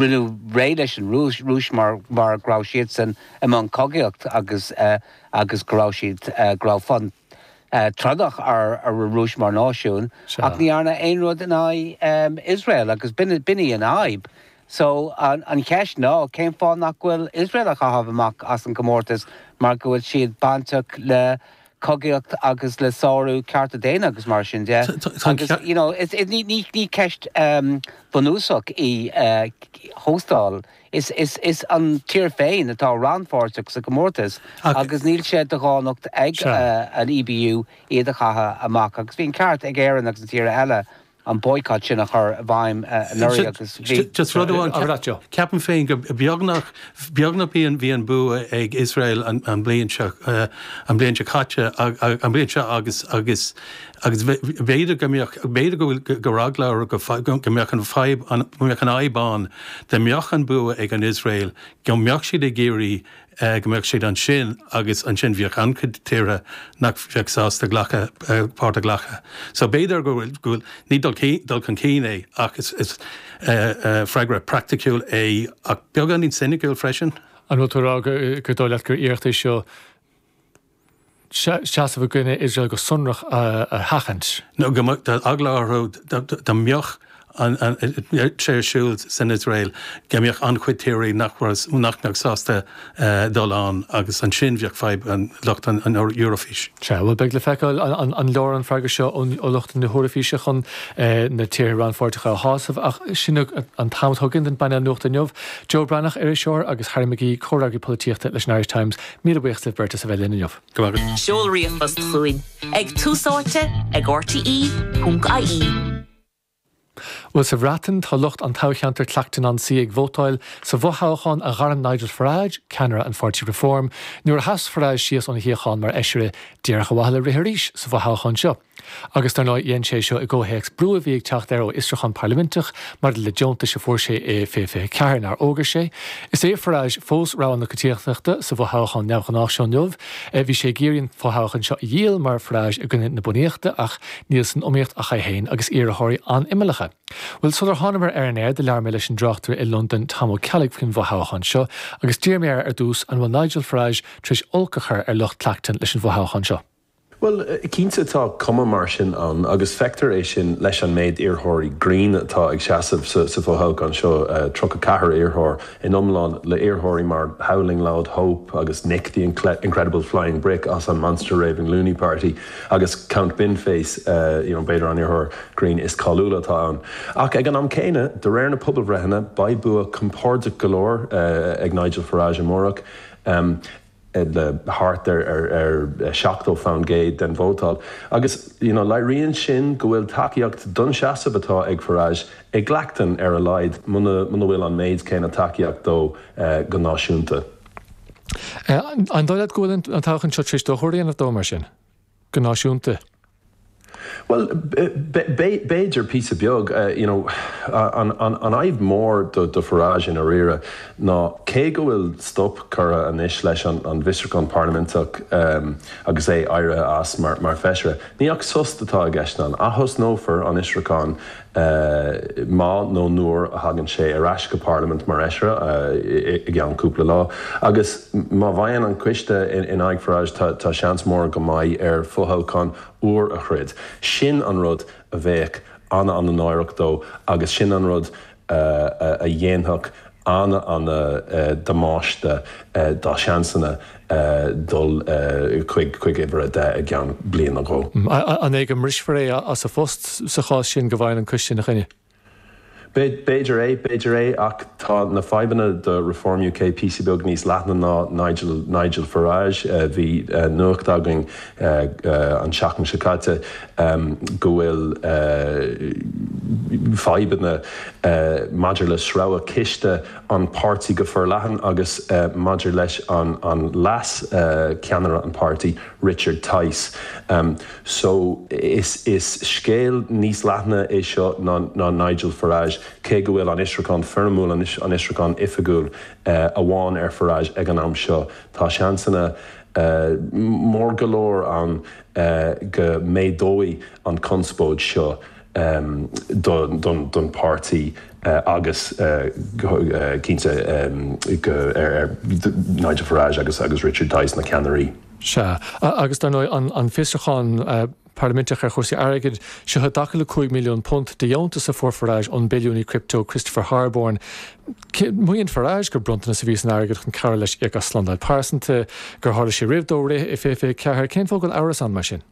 Rinneadh réidh leis an Rúis, Rúis mar mar go raibh siadsan i mbun cogaíocht agus agus go raibh siad, go raibh fonn trodach ar ar an Rúis mar náisiún ach ní dhearnadh aon rud in aghaidh Iosrael agus b'in b'in í an fhadhb. So an an cheist ná cén fáth nach bhfuil Iosrael á chaitheamh amach as an gcomórtas mar go bhfuil siad bainteach le cogaíocht agus le sárú cearta daonna agus mar sin de. Agus you know is ní ní ní ceist bhunúsach í hóstáil. Is is is an tír féin atá rannpháirteach sa gcomórtas agus níl sé de dhánacht ag an EBU iad a chaitheamh amach agus bhí an ceart ag Éirinn agus na tíortha eile an boycott sin a chur i bhfeidhm anuraidh agus bhí. Just rud amháin, ceapaim féin go beagnach, beagnach bhí an, bhí an bua ag Iosrael an bhliain seo, an bhliain seo caite, an bhliain seo agus, agus, agus b'fhéidir go mbeadh, b'fhéidir go bhfuil, go raibh eagla orthu go, go mbeadh an fadhb, go mbeadh an fhadhb ann dá mbeadh an bua ag an Iosrael, go mbeadh siad ag iarraidh go mbeadh siad ansin agus ansin bheadh an-chuid tíortha nach bheadh sásta glacadh, páirt a ghlacadh. So b'fhéidir go bhfuil, go bhfuil, ní dul cinn, dul chun cinn é ach is, is freagra praiticiúil é ach beagáinín soiniciúil freisin. An bhfuil tú ag rá gur dóigh leat gur iarracht é seo seasamh i gcoinne Iosrael go sonrach a sheachaint? Nó go mbeadh eagla orthu dá mbeadh sé ar siúl san Iosrael go mbeadh an-chuid tíortha nach nach mbeadh sásta dul ann agus ansin bheadh fadhb ag lucht an Eurofís. Sea, bhuel beidh le feiceáil an leor an freagra seo ó lucht na hEoraifíse chun na tíortha rannpháirteacha a shásamh ach sin an t-am atá againn don bpainéal nuachta inniu. Joe Breathnach, iriseoir, agus Harry McGee, comhfhreagraí polaitíochta leis an Irish Times. Míle buíochas libh beirt as a bheith linn inniu. Go raibh maith agat. Seol ríomhphost chugainn ag túsáite ag rte ponc ie. Bhuel, sa Bhreatain, tá lucht an toghcheantair Clacton-on-Sea ag vótáil sa bhfothoghchán a ghairm Nigel Farage, ceannaire an pháirtí Reform, nuair a sheas Farage síos óna shuíochán mar fheisire díreach ar mhaithe le rith arís sa bhfothoghchán seo. Agus dar ndóigh dhein sé seo i gcomhthéacs brú a bhí ag teacht air ó fhiosrúchán parlaiminteach maidir le deontais a fuair sé i 2024 nár fhógair sé. Is é Farage fós rogha na coitiantachta sa bhfothoghchán neamhghnách seo inniu. Bhí sé ag iarraidh an fothoghchán seo a dhíol mar Farage i gcoinne na bunaíochta ach níl san iomaíocht ach é féin agus iarrthóirí an-imeallacha. Bhuel, sular thánamar ar an aer do labhair mé leis an dtráchtaire i Londain Tom Ó Ceallaigh faoin bhfothoghchán seo agus d'iarr mé air ar dtús an bhfuil Nigel Farage tar éis olc a chur ar lucht Clacton leis an bhfothoghchán seo. Bhuel, cinnte tá cuma mar sin ann agus feictear é sin leis an méid iarrthóirí grinn atá ag seasamh sa bhfothoghchán seo, 34 iarrthóir in iomlán, le iarrthóirí mar Howling Loud Hope agus Nick the Incredible Flying Brick as an Monster Raving Loony Party agus Count Binface, you know, b'fhéidir an iarrthóir grinn is cáiliúla atá ann. Ach ag an am céanna, de réir na pobalbhreitheanna, beidh bua compordach go leor ag Nigel Farage amárach. le thart ar 70% den vótáil agus you know léiríonn sin go bhfuil tacaíocht don seasamh atá ag Farage i gClacton ar a laghad, muna bhfuil an méid céanna tacaíocht dó go náisiúnta. An dóigh leat go bhfuil an toghchán seo tar éis dochar a dhéanamh dó mar sin, go náisiúnta? Bhuel, b'fhéidir píosa beag. You know, an fhadhb mhór do Farage i ndáiríre ná cé go bhfuil stop curtha anois leis an bhfiosrúchán parlaiminteach agus é éirithe as mar feisire, ní ach sos atá i gceist ann. Athosnófar an fhiosrúchán má nó nuair a thagann sé ar ais go Parlaimint mar fheisire i gceann cúpla lá. Agus má bhfaigheann an coiste in aghaidh Farage tá seans mór go mbeidh air fothoghchán úr a throid. Sin an rud a bheadh ana-ana-náireach dó agus sin an rud a dhéanfadh ana-ana-damáiste dá sheansanna dul chuig uimhir 10 i gceann bliain nó dhó. An é go mbrisfear é as a phost sa chás sin go bhfaigheann an coiste ina choinne? B'fhéidir é, b'fhéidir é, ach tá na fadhbanna do Reform UK píosa beag níos leithne ná Nigel, Nigel Farage. Bhí nuacht againn an tseachtain seo caite go bhfuil fadhbanna maidir le sreabhadh ciste an páirtí go forleathan agus maidir leis an an leas ceannaire an páirtí, Richard Tice. So, is scéal níos leithne é seo ná Nigel Farage, cé go bhfuil an fhiosrúchán foirmiúil, an fhiosrúchán oifigiúil amháin ar Farage ag an am seo. Tá seansanna mór go leor ann go méadóidh an conspóid seo. don pháirtí agus cinnte go ar Nigel Farage agus agus Richard Tice na ceannairí. Sea. Agus dar ndóigh an fiosrúchán parlaiminteach ar chúrsaí airgid, seo i dtaca le £5 milliún de dheontas a fuair Farage ón billiúnaí crypto Christopher Harborne. Maíonn Farage gur bronntanas a bhí san airgead chun cabhrú leis íoc as slándáil pearsanta, gur tharla sé roimh dó rith i 2024. Cén fáth go bhfuil amhras ann mar sin?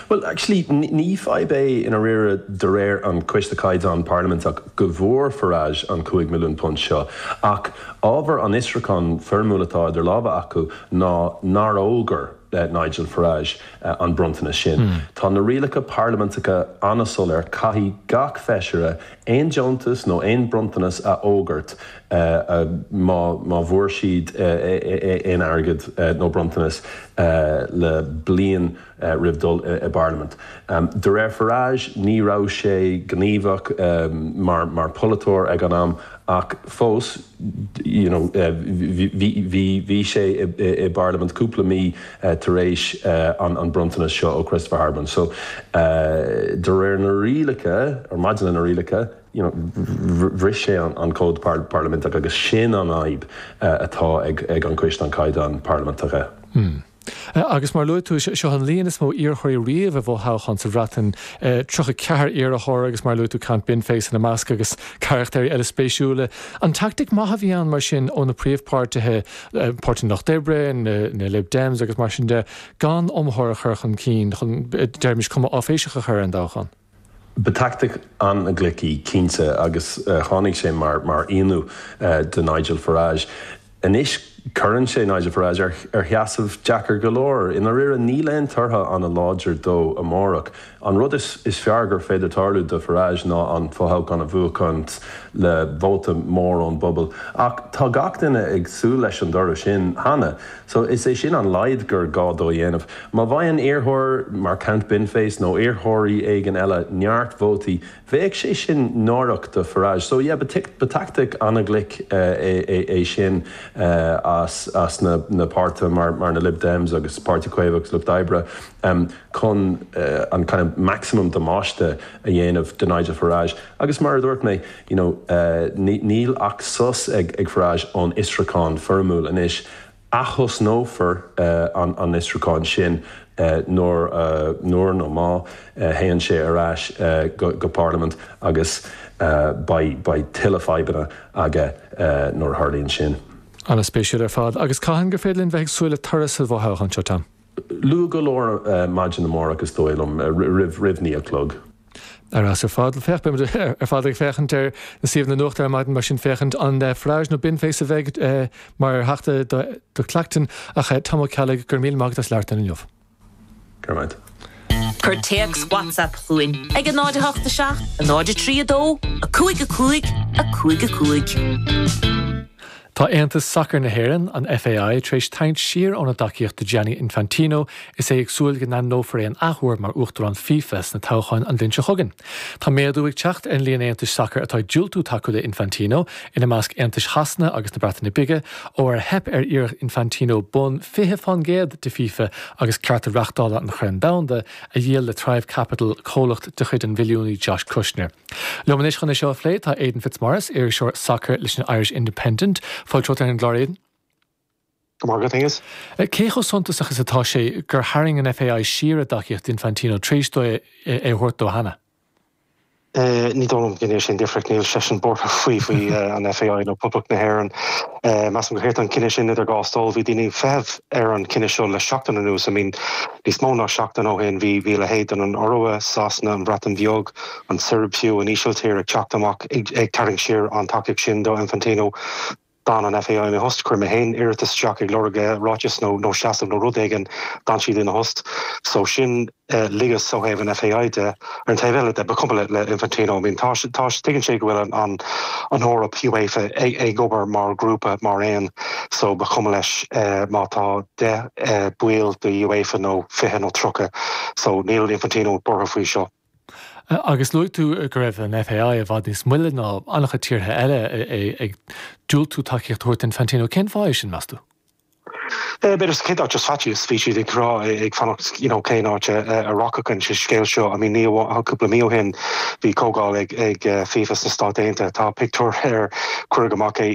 Bhuel, actually, ní fadhb é i ndáiríre de réir an Coiste Caighdeán Parlaiminteach go bhfuair Farage an £5 milliún seo, ach ábhar an fhiosrúcháin foirmiúil atá idir lámha acu ná nár fhógair Nigel Farage an bronntanas sin. Tá na rialacha parlaiminteacha an-soiléir, caithfidh gach feisire aon deontas nó aon bronntanas a fhógairt má má bhfuair siad aon airgead nó bronntanas le bliain roimh dul i bParlaimint. De réir Farage, ní raibh sé gníomhach mar mar pholaiteoir ag an am ach fós you know bhí bhí sé i bParlaimint cúpla mí tar éis an bronntanas seo ó Christopher Harborne. So de réir na rialacha, or maidir le na rialacha, you know bhris sé an cód parlaiminteach agus sin an fhadhb atá ag an Coiste an Caighdeán Parlaiminteacha. Agus mar a luaigh tú, seo an líon is mó iarrthóirí riamh i bhfothoghchán sa Bhreatain, 34 iarrthóir agus mar a luaigh tú Count Binface ina measc agus carachtair eile spéisiúla. An teaictic maith a bhí ann mar sin ó na príomhpháirtithe, Páirtí an Lucht Oibre, na Lib Dems agus mar sin de, gan iomaitheoir a chur chun cinn chun, deirimis, cuma áiféiseach a chur ar an dtoghchán? Ba tactic an-ghlic í, cinnte, agus tháinig sé mar mar ionadh do Nigel Farage. Anois cuireann sé Nigel Farage ar sheasamh deacair go leor. I ndáiríre níl aon tortha an-láidir dó amárach. An rud is fearr gur féidir tarlú do Farage ná an fothoghchán a bhuachaint le vóta mór ón bpobal. Ach tá gach duine ag súil leis an dtoradh sin cheana. So is é sin an laghad gur gá dó a dhéanamh. Má bhfaigheann iarrthóir mar Count Binface nó iarrthóirí éigin eile neart vótaí, Bheadh sé sin náireach do Farage. So yeah, ba tactic an-ghlic é sin as as na na páirtithe mar mar na Lib Dems agus Páirtí Caomhach agus Lucht Oibre chun an kind of maximum damáiste a dhéanamh do Nigel Farage. Agus mar a dúirt mé, you know, níl ach sos ag ag Farage ón fhiosrúchán foirmiúil anois. Athosnófar an fhiosrúchán sin nuair, nuair nó má, théann sé ar ais go Parlaimint agus beidh, beidh tuilleadh fadhbanna aige nuair a tharlaíonn sin. An-spéisiúil ar fad. Agus cathain gur féidir linn bheith ag súil le toradh sa bhfothoghchán seo, Tom? Luath go leor maidin amárach is dóigh liom, roimh 9 a chlog. Ar fheabhas ar fad. Féach, beimid ar fad ag féachaint ar na suíomhanna nuachta ar maidin mar sin féachaint an Farage nó Binface a bheidh mar theachta do Clacton. Ach Tom Ó Ceallaigh, go raibh míle maith agat as labhairt linn inniu. Go raibh maith. Cuir téacs WhatsApp chugainn ag 0 8 7 0 3 2 5 5 5 5. Tá Aontas Sacair na hÉireann, an FAI, tar éis tarraingt siar óna dtacaíocht do Gianni Infantino is é ag súil go n-ainmneofar é an athuair mar Uachtarán FIFA sna toghcháin an bhliain seo chugainn. Tá méadú ag teacht ar an líon aontais sacair atá ag diúltú tacú le Infantino, ina measc aontais Shasana agus na Breataine Bige, ó ar theip ar iarracht Infantino bonn 20% de FIFA agus cearta reáchtála an Choirn Dhomhanda a dhíol le Thrive Capital, comhlacht de chuid an bhilliúnaí Josh Kushner. Liom anois chun é seo a phlé tá Aidan Fitzmaurice, iriseoir sacair leis an Irish Independent. Fáilte romhat ar an gclár, Aidan. Go raibh maith agat, Aengus. Cé chomh suntasach is atá sé gur tharraing an FAI siar a dtacaíocht d'Infantino tar éis dó é a thabhairt dó cheana? Ní dóigh liom go ndéanfaidh sé aon difríocht. Níl seisean buartha faoi faoi an FAI nó Poblacht na hÉireann. Measaim gur thit an cinneadh sin idir dhá stól. Bhí daoine ag feitheamh ar an chinneadh seo le seachtain anuas. I mean, níos mó ná seachtain ó shin bhí bhí a leithéid den an Iorua, Sasana, an Bhreatain Bheag, an tSeirbia fiú, an Ísiltír ag teacht amach ag tarraingt siar an tacaíocht sin do Infantino. D'fhan an FAI ina thost. Chuir mé féin iarratas isteach ag lorg ráiteas nó nó seasamh nó rud éigin. D'fhan siad ina thost. So sin ligeas ó thaobh an FAI de. Ar an taobh eile de, ba chuma le Infantino. I mean tá tá tuigeann sé go bhfuil an an an Eoraip, UEFA, ag ag obair mar ghrúpa mar aon so ba chuma leis má tá 10 baill de UEFA nó 20 nó 30. So níl Infantino buartha faoi seo. Agus luaigh tú go raibh an FAI i bhfad níos moille ná an-chuid tíortha eile ag diúltú tacaíocht a thabhairt d'Infantino. Cén fáth é sin, meas tú? B'fhéidir sa chéad áit just faitíos, bhí siad ag rá, ag fanacht you know cén áit a rachadh an scéal seo. I mean ní amháin, cúpla mí ó shin bhí comhdháil ag ag FIFA sna Stáit Aontaithe, tá pictiúr ar cuireadh amach é.